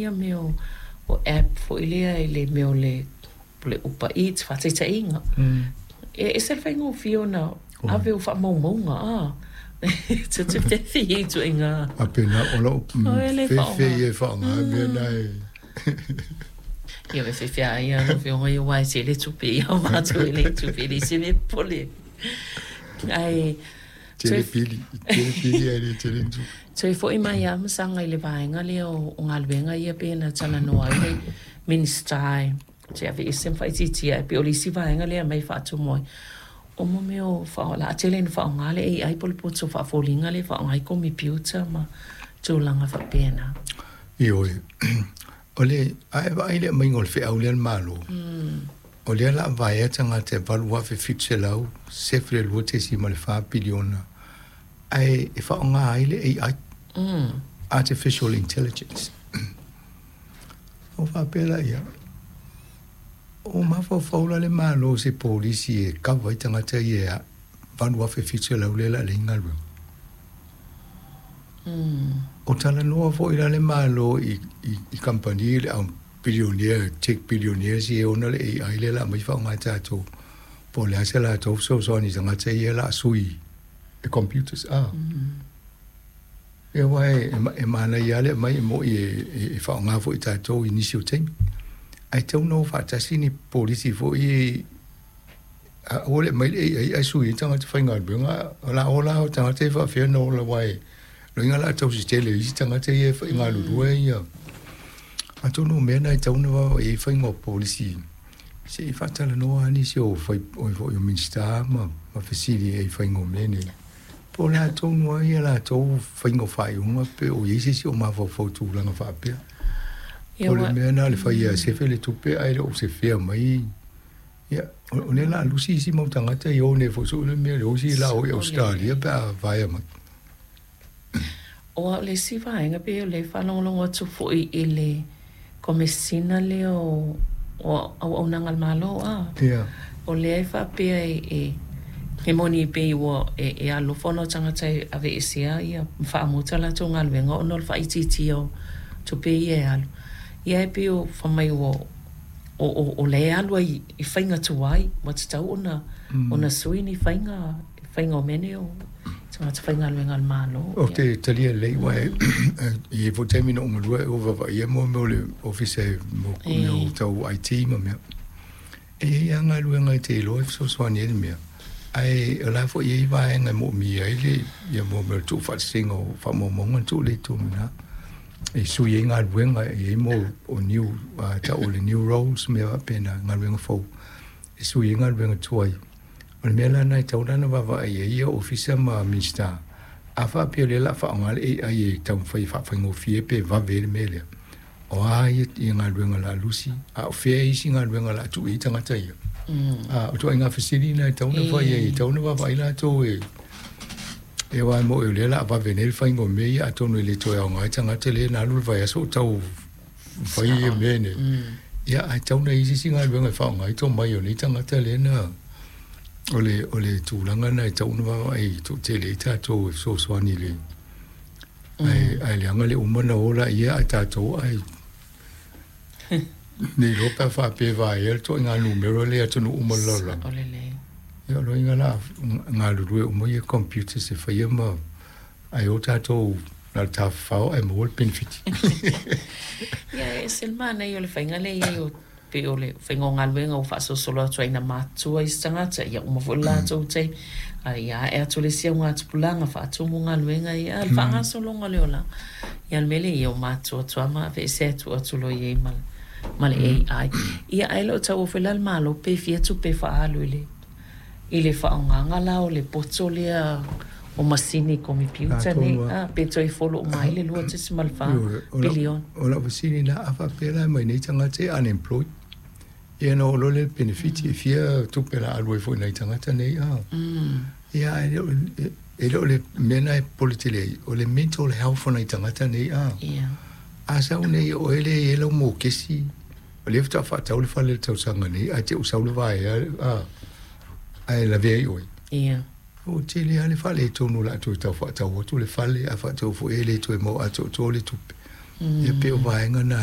ia mea o app foi lea i le mea o le Uber Eats, faataitaiga. E ese le faigofie ona ave o faamaumauga a. Te fefe i ituaiga. Faapena, o lou fefe ia e faaaoga mea na e. Ia e fefe lava ia lau Afioga ia aua e tele tupe ia o matou e leai tupe, e leai se mea e popole ai. Ae Tele pili, tele pili ae le tele ni tupe. Toe foi mai lava ma saga i le vaega lea o galuega ia pei ona talanoa ai le Minisita e te aveese ma faaitiitia ai. E pei o le isi vaega lea e aumai e faatumu ai, o mo mea o o le a tele ina faaaoga le AI po o le poto faafoliga lea e faaaoga ai komepiuta ma tulaga faapena. Ioe. O le, a e vaai i le aumaiga o le feau lea a le Malo, o lea o le a vaea tagata e 8,772.4 piliona ae e faaaoga ai le AI, Artificial Intelligence. Ona faapea laia, o mafaufau la le Malo i se polisi e kava ai tagata ia e 8,700 lea o le a leai ni galuega. O talanoa foi la le Malo i kamupani le au billionaire, tech billionaires ia e ona le AI lea o le a aumai faaaoga e tatou, po o le a se latou fesoasoani i tagata ia o le a sui e computers. Ia aua e manaia lava le aumai e moni e faaaoga foi e tatou i nisi o taimi, ae tatau ona o faatasi ni polisi foi ia, aua le aumai le AI ae sui ai tagata faigaluega. O le a ola o tagata ia faapefea ona ola aua e loiga o le a tausi tele e isi tagata ia e galulue ia. Atonu o mea na e tatau ona vaavaai i ai faiga o polisi se i faatalanoa lava nisi o fai foi o Minisita ma fesili i ai i faiga o mea nei. Po o le a tonu lava ia latou faiga o faaiuga pe o i ai se isi o mafaufau i tulaga faapea. O le mea lena o le fai e sefe le tupe ae le o sefea mai. Ia, o lea o le a lusi isi mau tagata i o nei foi soo le mea le o isi la o i Ausetalia pe a vaea mai. O au le isi vaega pei o lea e faalogologo atu foi i le Komesina lea o Auaunaga a le Malo, a? Ia. O lea e faapea e e moni pei ua e alofa ona o tagata e aveesea ia ma faamuta latou galuega ona o le faaitiitia o tupe ia e alu. Ia e pei o fai mai ua o lea e alu ai i faiga tuai ua tatau ona ona sui ni faiga faiga o mea nei o tagata faigaluega a le Malo. Ou te talia lelei aua e i ai foi taimi na ou galue ai ua vaavaaia mo mea o le ofisa mo mea o tau IT ma mea. E i ai lava galuega e te iloa e fesoasoani ai le mea, ae o la foi e i ai vaega e moomia ai le ia mo mea o le tuufaatasiga o faamaumauga na tuu lea i totonu i ina e sui ai galuega, e i ai mo o new tau o le new roles mea faapena, galuega fou e sui ai galuega tuai. O le mea la lena e tatau la ona vaavaai i ai ia Ofisa ma Minisita, a faapea o lea o le a faaaoga le AI e taumafai e faafaigofie pe vave ai le mea lea, o a ia galuega o le a lusi, a o fea isi galuega o le a tuu i ai tagata ia? A o ituaiga fesili na e tatau ona fai ai, e tatau ona vaavaai latou e aua e moni o lea o le a vave nei le faiga o mea ia, atonu e le toe aoga ai tagata lea na alu le vaiaso o tau fai ia mea nei. Ia, ae tatau ona i ai se isi galuega e faaaoga ai tomai o nei tagata lea na o le tulaga lena e tatau ona vaavaai toatele ai tatou e fesoasoani i le ae leaga le uma ona o laia ae tatou ae ne i iloa pe a faapea e vaea le ituaiga numera lea i atunuu uma o le lalolagi. Ia o lona uiga o le a galulue uma ia computers e faia ma ae o tatou na o le tafafao ae maua le penefiti. Ia e ese le manaia o le faiga lea i ai o pei o le faiga o galuega ua faasolosolo atu ai ina matutua isi tagata, ia uma foi le latou taimi, a ia ae atu le isi augatupulaga faatumu galuega ia, a o le faagasologa o le olaga. Ia o le mea lea, ia ua matutua atu lava ma aveese atu atu loa i ai ma le AI. Ia ae le o taua foi la le Malo pe fia tupe e faaalu i le I le faaaogaga la o le poto lea o masini komepiuta nei, a, pe toe folo uma ai le 2.4 piliona. O lau fesili lena, a faapea la e aumai nei tagata ia unemployed, ia ona oo loa lea i le penefiti, e fia tupe o le a alu ai foi i nai tagata nei, a? Ia, ae le o, e le o le mea lena e popole tele ai, o le mental health o nai tagata nei, a? A sau nei o oe lea e i ai lau mokesi, O lea faatoa faatau le fale i le tausaga nei ae te i ua sau le vaea ae lavea ai oe. Ia. Ua tele lava le faaletonu o le a toe tau faatau atu le fale, a faatau foi e le toe maua atoatoa le tupe. Ia pei o vaega na.